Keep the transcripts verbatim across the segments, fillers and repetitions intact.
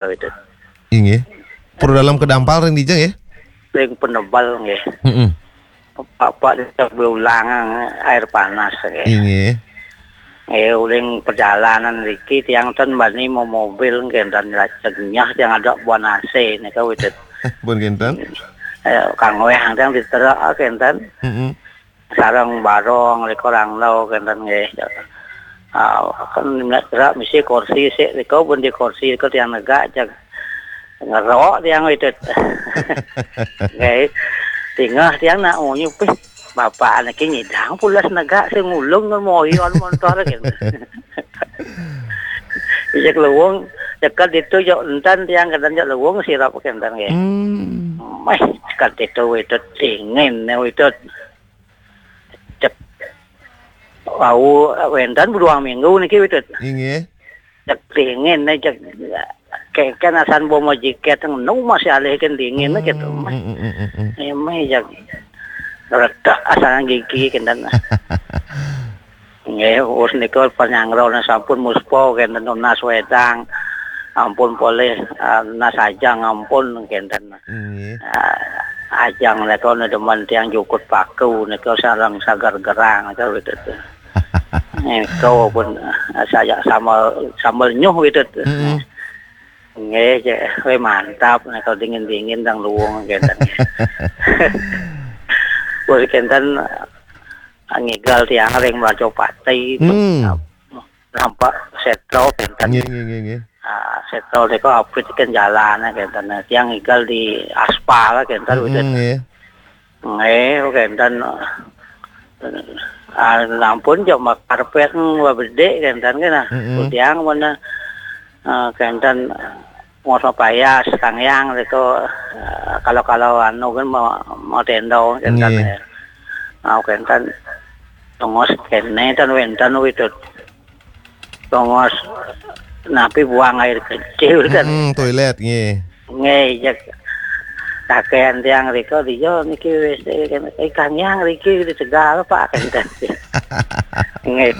Itu. Inggih. Pura Dalem kedampal ring dija nggih? Ring Penebel nggih. Heeh. Bapak dija berulang air panas nggih. Inggih. Nggih, uling perjalanan niki tiang ten bani mau mobil nggih, ten lajeng nyah tiang ada buan A C nika witut. Pun kinten? Eh, Kang Weh tiang diterak kinten. Heeh. Sareng barong nika rangda kinten nggih. Ah, kan nek gerak mesti kursi sik nika pun di kursi nika tiang negak jag ngerok tiang witut. Nggih. Tingeh tiang nak ngunyup, "Ih, bapak niki nyidang pulas negak sing ulung ngan moyon montor," kinten. Ijak luwung, ceket ditu jok enten tiang kinten jok luwung sirap kinten nggih. Hmm. Meh, ceket ditu witut dingin witut. Cek wau wenten beduang minggu niki witut. Inggih. Cek dingin nih, cek keken asan bomo jiket nu masih alih kan dingin gitu. Hmm, hmm, hmm, hmm, hmm. Ini cek retak asan gigi kinten. Nggih, wus nika panyanggrané sampun muspa kinten nunas wedang. Ampun polih, ah, nunas ajang ampun kinten. Nggih. Ah, ajang nika demen tiang jukut paku nika sareng sagar gerang nika witut. Nika pun, ah, saya sambel, sambel nyuh witut. Heeh. Nggih, cek, weh, mantap nika dingin-dingin tang luwung kinten. Wus kinten ngigel tiang ring Mlajapati. Hmm. Nampak setro kinten. Nggih, nggih, nggih, nggih. Ah, setro nika apit kan jalané kinten. Tiang ngigel di aspal kinten. Hmm, witut. Nggih. Nggih, kinten. Ah, ampun jok makarpet bedik kinten kena. Mm-mm. Tiang mana, ah, kinten ngos payas kangyang nika, ah, kalau-kalau anu kan mau, mau tenda kinten. Nggih. Ya. Ah, kinten tongos kéné ten wénten witut. Tongos napi buang air kecil kan. Mm-mm, toilet nggih. Nggih, ya. Kakean tiang rika dia niki W C kan. Eh, kangyang riki di Tegal, Pak, kan. Nggih.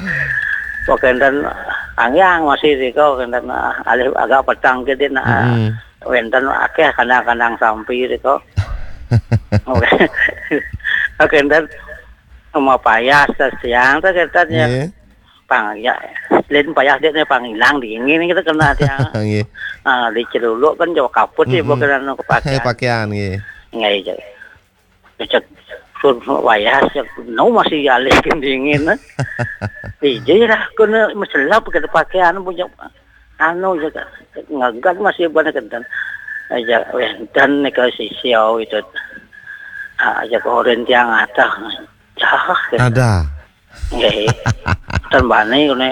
Kok kinten kangyang masih rika kinten, ah, alih agak petang gedé nah. Mm-mm. Wénten akéh kandang-kandang sampi rika. Oké. Kinten mau payas siang téh kinten ya. Nggih. Pang, ya, lain payah dia nih pang ilang dingin kita kena dia. Nggih. Ah, di celuluk kan jauh kaput sih, hmm, bukan anu kepakian. Pakaian, nggih. Nggih, iya. Cek sur wayah, cek, no masih alih dingin, eh. Iya lah, kena meselap kita pakaian punya anu juga ngagat masih banyak kan. Aja wénten nika sisiau itu. Ah, aja koren tiang atah. Cah, gitu. Ada. Nggih. Ten bani ngene,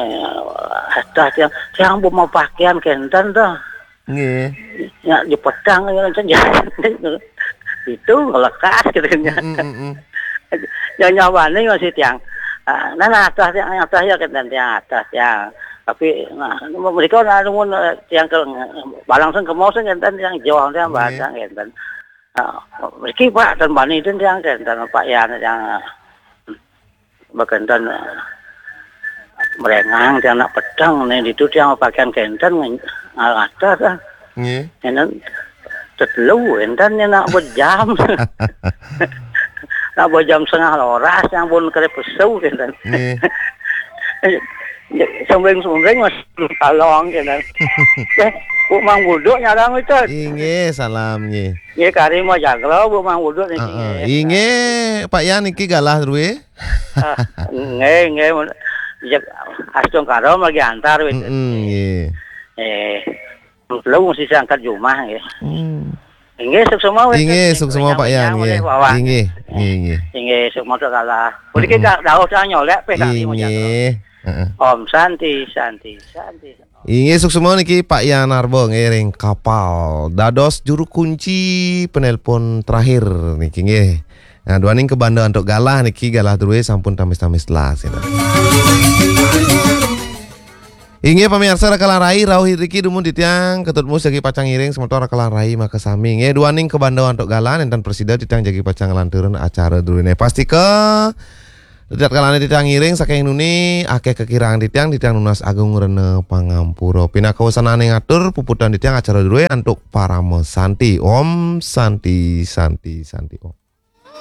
adah tiang, tiang bu mau pakaian kinten to. Nggih. Ya, di pedang ya, ten ya. Itu lekas gitu kan. Mm, mm, mm, mm. Ya, nyawani masih tiang. Ah, nah, nah, adah tiang, adah ya kinten tiang, adah tiang. Tapi, nah, mereka nah, nuwun, eh, tiang ke, balang sing kemau sing kinten tiang jauh tiang. Nggih. Badang kinten. Ah, mriki, Pak, ten bani ten tiang kinten, Pak Yan, tiang, eh, Bakanten, eh, merengang, tiang nak petang nih, ditu tiang pakaian kenten, ngarata dah. Nggih. Enten tetelu, enten nya nak bejam. Nak bejam setengah loras, yang pun kere pesu, kenten. Nggih. Sembring-sembring, Mas, kalong, kenten. Eh, Bu Mang Buduk nyarang itu. Inggih, salam, nggih. Nggih, kari mau jaglo, Bu Mang Buduk niki, heeh, nggih. Inggih, Pak Yan niki galah druwe. Ah, nggih, nggih. Jek astungkara lagi antar wit. Mm-mm, nggih. Eh, belum mesti angkat jumah nggih. Hmm. Inggih, suksma wit. Inggih, suksma Pak Yan, nggih. Inggih, nggih, nggih. Inggih, suksma tu kalah. Boleh kita dauh dah nyolek pe kami mau jatuh. Inggih. Heeh. Om Santi, Santi, Santi. Inggih, suksma niki Pak Yan Arbo nggih ring Kapal. Dados juru kunci penelpon terakhir niki nggih. Nah, duaning ke banda antuk galah niki galah druwe sampun tamis-tamis telas, gitu. Inggih pamiarsa Rakalan Rai rauh iriki dumun titiang Ketut Mus jagi pacang ngiring semeton Rakalan Rai makasami. Nggih duaning ke banda antuk galah nenten prasida titiang jagi pacang nglanturang acara druwene. Pastika Titiang kalane titiang ngiring saking nuni, akeh kekirangan titiang, titiang nunas agung rena pangampura. Pinaka wesananing atur, puputang titiang acara druwe antuk parama santi. Om Santi, Santi, Santi, Om.